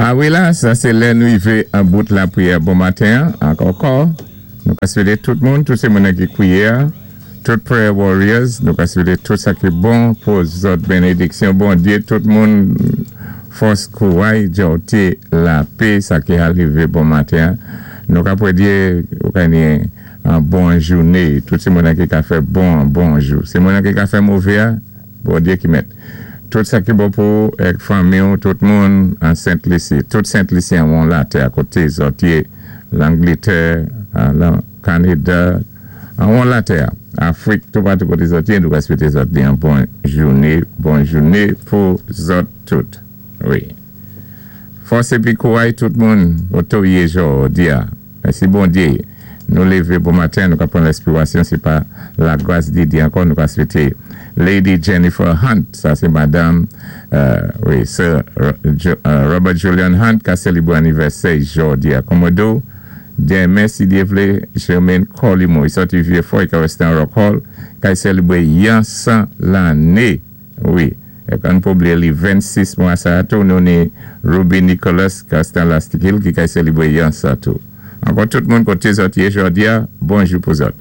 A wi la, sa sé lè nou wivé an bout lapriyè bon maten ak ankò. Nou ka swété tout moun, tout sé moun ki kwiyé, tout prayer warriors, nou ka swété tout sa ki bon pou zòt, bénédiksyon Bondyé, tout moun, fòs, kouray, djòté, lapé, sa ki arivé bon maten. Nou ka pwédyé, ou ka ni an bon jouné, tout sé moun ki ka fè bon bon jou. Sé moun ki ka fè mové, Bondyé ki mèt. Tout sa ki bon pou èk fanmi ou, tout moun an Sent Lisi, tout Sent Lisyen won latè akoté zòt yé, Langlétè, lan Kanada, an won latè, Afrik, tout patou koté zòt yé, nou ka swété zòt ni an bon jouné, bon jouné pou zòt tout. Wi. Fòs épi kouray tout moun koté ou yé jòdi-a. Mèsi Bondyé. Nou lévé bon maten, nou ka pran lèspirasyon, sé pa lagras di Dyé ankò, nou ka swété Lady Jennifer Hunt, sa sé madanm, wi, Sir Robert Julian Hunt ka sélébré anivèsè jòdi-a. Kòmodò, denmen si Dyé vlé, Germaine Colimo, i sòti Vieux-Fort, i ka résté an Rock Hall, kay sélébré yon 100 lanné. Wi. Èk ann pa blié li 26 mwa sa tou nou ni Ruby Nicholas Castan Lastikil ki kay sélébré yon 100 tou. Ankò tout moun koté zòt yé jòdi-a, bonjou pou zòt.